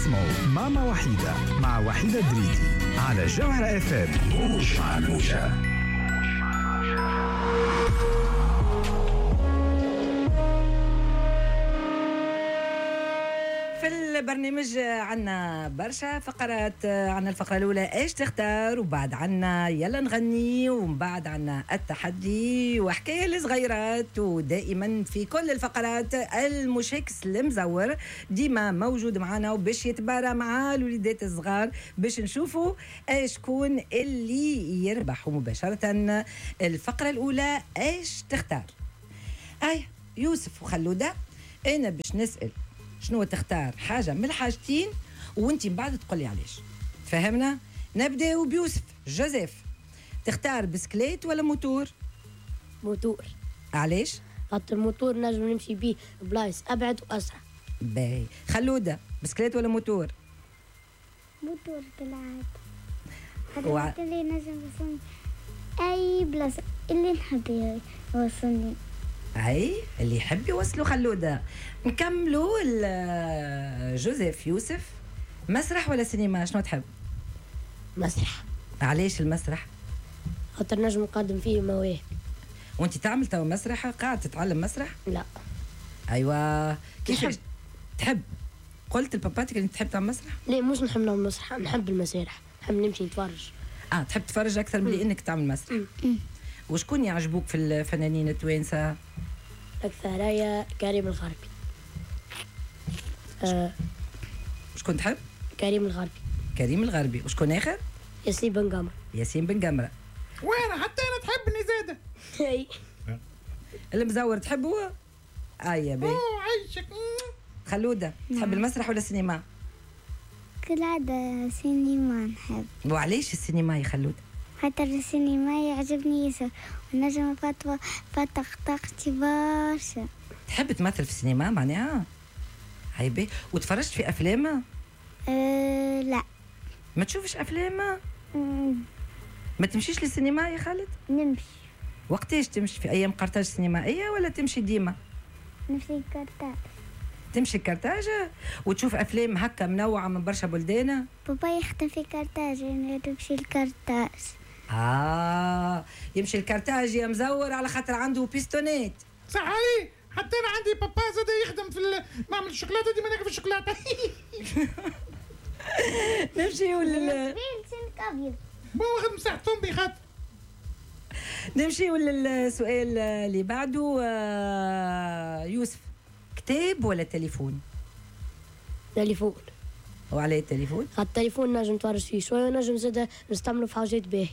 تسمعوا ماما وحيدة مع وحيدة دريدي على جوهرة اف ام. مش مع الموجة. في البرنامج عنا برشا فقرات. عنا الفقرة الأولى ايش تختار، وبعد عنا يلا نغني، ومن بعد عنا التحدي وحكاية الصغيرات. ودائما في كل الفقرات المشاكس المزور ديما موجود معنا وباش يتبارى مع الوليدات الصغار باش نشوفوا شكون اللي يربح. مباشرة الفقرة الأولى ايش تختار. أي يوسف وخلودة، أنا باش نسأل شنو تختار حاجة من الحاجتين وانت من بعد تقول لي علاش. فهمنا؟ نبداو بيوسف جوزيف، تختار بسكليت ولا موتور؟ موتور. علاش؟ خاطر الموتور نجم نمشي بيه بلايص ابعد واسرع. باهي. خلودة، بسكليت ولا موتور؟ موتور بالعادة. خاطر اللي نجم يوصلني اي بلاصة اللي نحب يوصلني. اي اللي يحب يوصلوا. خلودة. نكملوا جوزيف يوسف، مسرح ولا سينما شنو تحب؟ مسرح. علاش المسرح؟ خاطر نجم نقدم فيه مواهب. وانت تعمل تو مسرح؟ قاعد تتعلم مسرح؟ لا. ايوه كيفاش تحب؟ قلت لباباتك انت تحب تعمل مسرح؟ لا مش نحب نعمل مسرح، نحب المسارح، نحب نمشي نتفرج. تحب تتفرج اكثر من انك تعمل مسرح. وشكون يعجبوك في الفنانين التوانسة؟ أكثرية كريم الغربي. شكون تحب؟ كريم الغربي. كريم الغربي. وشكون آخر؟ ياسين بن قمرة. ياسين بن قمرة. وأنا حتى أنا تحبني زادة. المزور تحبه؟ يا بي. عيشك. خلودة، تحب المسرح ولا السينما؟ كالعادة سينما نحب. وعليش السينما يا خلودة؟ خاطر السينما يعجبني ياسر ونجم فتق طاقتي برشا. تحب تمثل في السينما معناها؟ هاي. وتفرجت في افلام؟ لا. ما تشوفش افلام؟ ما تمشيش للسينما يا خالد؟ نمشي. وقتاش تمشي؟ في ايام قرطاج السينمائية ولا تمشي ديما؟ نمشي لقرطاج. تمشي لقرطاج وتشوف افلام هكا منوعة من برشا بلدان؟ بابا يخدم في قرطاج، انا نمشي لقرطاج. يمشي الكرتاج يا مزور على خاطر عنده بيستونات. صح علي، حتى انا عندي بابا زاد يخدم في معمل الشوكولاتة، ديما ناكل في الشوكولاتة. نمشيو لل واخد مساحتهم بخاطر. نمشيو للسؤال اللي بعده. يوسف، كتاب ولا تليفون؟ تليفون. وعلى التليفون؟ على التليفون نجم نتفرج فيه شوية ونجم زاد نستعمله في حاجات باهيه.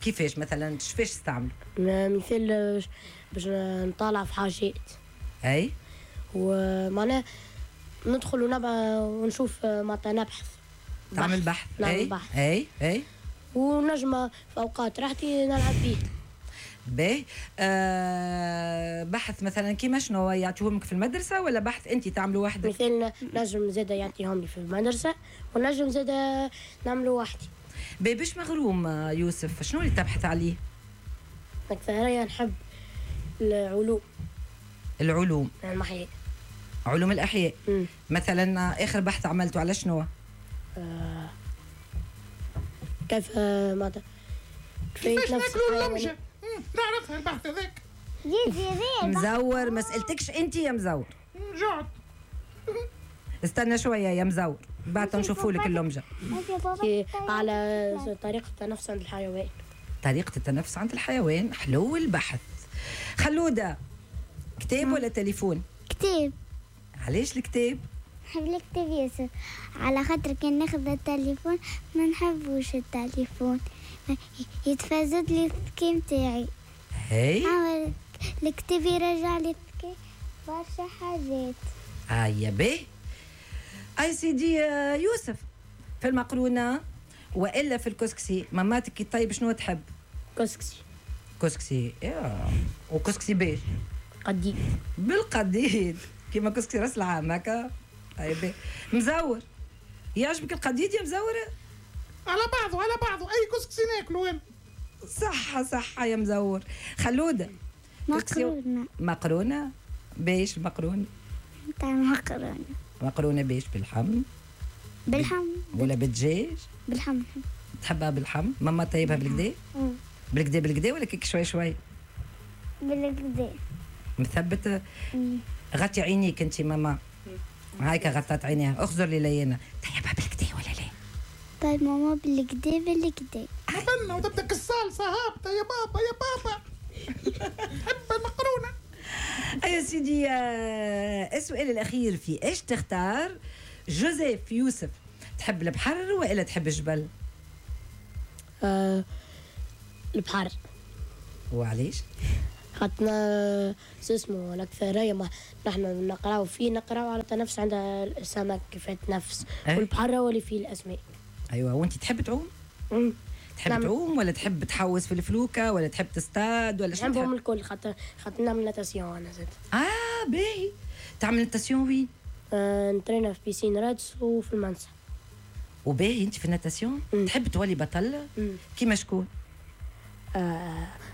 كيفاش مثلا؟ كيفاش تستعمله؟ مثال باش نطالع في حاجات. اي ومعناها ندخل ونشوف معناتها نبحث. تعمل بحث. نعمل بحث. اي اي. ونجم في اوقات راحتي نلعب بيه. باهي. بحث مثلا كيما شنو يعطيهم لك في المدرسة ولا بحث انت تعمله وحدك؟ مثال نجم زاد يعطيهم لي في المدرسة ونجم زاد نعمله وحدي. باهي. باش مغروم يوسف، شنو اللي تبحث عليه؟ أكثرية نحب العلوم. العلوم. الأحياء. علوم الأحياء. مثلا آخر بحث عملته على شنو؟ كيف ماذا؟ كيفاش ناكلوا اللمجة؟ نعرفها البحث هذاك. مزور ما سألتكش أنت يا مزور. جعت. استنى شوية يا مزور، بعد نشوفوا لك اللمجة. على طريقة التنفس عند الحيوان. طريقة التنفس عند الحيوان، حلو البحث. خلودة، كتاب ولا تليفون؟ كتاب. علاش الكتاب؟ نحب الكتاب ياسر، على خاطر كان ناخذ التليفون ما نحبوش التليفون، يتفزد لي الذكاء نتاعي. هاي الكتاب يرجع لي الذكاء برشا حاجات. يا باهي. اي سيدي يوسف، في المقرونة وإلا في الكسكسي، ماماتك كي طيب شنو تحب؟ كسكسي. كسكسي. وكسكسي باش؟ قديد. بالقديد كيما كسكسي راس العام هكا. طيب مزور، يعجبك القديد يا مزورة؟ على بعضه على بعضه، أي كسكسي ناكله أنا. صحة صحة يا مزور. خلودة، مقرونة. مقرونة باش المقرونة؟ نتاع مقرونة. مقرونة باش باللحم. باللحم. ولا بالدجاج؟ باللحم. تحبها باللحم؟ ماما طيبها بالكدا؟ بالكدا بالكدا ولا كيك شوي شوي؟ بالكدا. مثبتة؟ غطي عينيك انت ماما. هايكا غطات عينيها، اخزر لي لينا، طيبها بالكدا ولا لا؟ طيب ماما بالكدا بالكدا. بنا وتبدا الصالصه هابطة يا بابا يا بابا. نحب المقرونه. يا سيدي السؤال الاخير في ايش تختار؟ جوزيف يوسف، تحب البحر والا تحب الجبل؟ البحر. وعليش؟ خاطرنا اسمه الأكثرية ما نحن نقراو فيه، نقراو على التنفس عند السمك كيف يتنفس. أه؟ والبحر هو اللي فيه الأسماك. أيوة، وأنت تحب تعوم؟ تحب نعم. تعوم ولا تحب تحوس في الفلوكة ولا تحب تصطاد ولا شنو؟ نحبهم الكل خاطر نعمل natation أنا زاد. باهي، تعمل natation وين؟ نترينا في piscine رادس وفي المنسى. وباهي أنت في ال natation؟ تحب تولي بطل؟ كيما شكون؟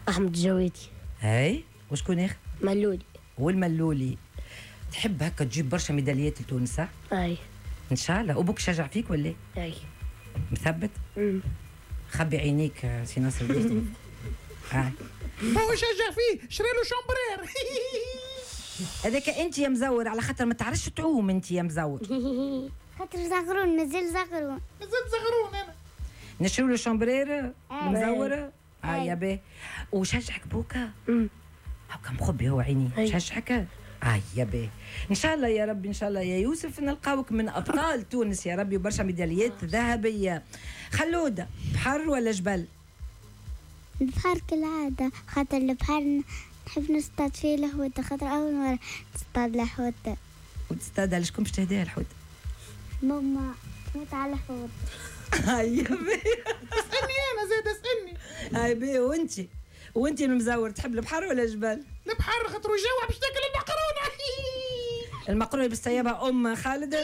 أحمد الجويدي. هاي، وشكون اخر؟ ملولي. والملولي تحب هكا تجيب برشا ميداليات لتونس صح؟ اي ان شاء الله. وبوك شجع فيك ولا؟ اي. مثبت؟ خبي عينيك سي ناصر الدين. هو شجع فيه، شري له chambre à air. هذاك انت يا مزور، على خاطر ما تعرفش تعوم انت يا مزور. خاطر زغرون، مازال زغرون. مازال زغرون انا. نشري له chambre à air مزوره؟ يا باهي. وشجعك بوكا؟ هاكا مخبي هو عيني، شجعك؟ يا باهي. ان شاء الله يا ربي، ان شاء الله يا يوسف نلقاوك من ابطال تونس يا ربي، وبرشا ميداليات ذهبية. خلوده، بحر ولا جبل؟ البحر كالعادة، خاطر البحر نحب نصطاد فيه الحوته، خاطر اول مرة نصطاد الحوته. وتصطادها لشكون باش تهديها الحوت؟ ماما تموت على الحوت. هيا باهي. اسالني انا زاد، اسالني. هاي باهي. وانت المزور تحب البحر ولا الجبل؟ البحر خاطر يجوع باش تاكل المقرونه. المقرونه باش طيبها ام خالد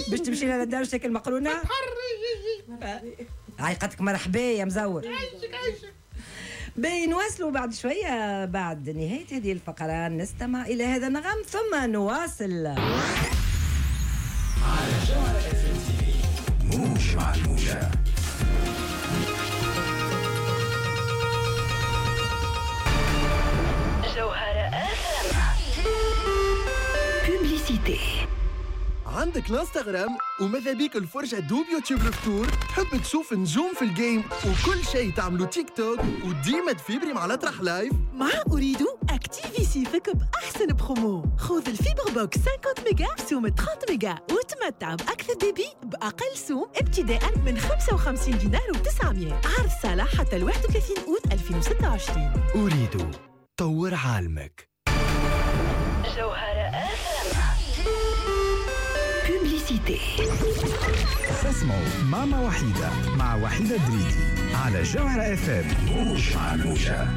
باش تمشي لها للدار تاكل مقرونة؟ البحر. عيقتك مرحبا يا مزور. عايشك عايشك. باهي، نواصلوا بعد شوية، بعد نهاية هذه الفقرة نستمع الى هذا النغم ثم نواصل. على جوهرة اف تي في، موج مع الموجة. جوهرة اف publicité. عندك الانستغرام وماذا بيك الفرجة دوب يوتيوب الفطور، تحب تشوف نجوم في ال game وكل شيء تعملو تيك توك وديما تفيبري مع الأطرح live. مع أوريدو اكتيفي صيفك بأحسن برومو، خذ ال fibre box 50 ميجا بسوم 30 ميجا وتمتع بأكثر débit بأقل سوم ابتداء من 55 دينار و900. عرض صالح حتى 31 أوت 2026. أوريدو، طور عالمك. جوهرة publicité. تسمعوا ماما وحيدة مع وحيدة دريدي على جوهرة اف ام. موج مع الموجة.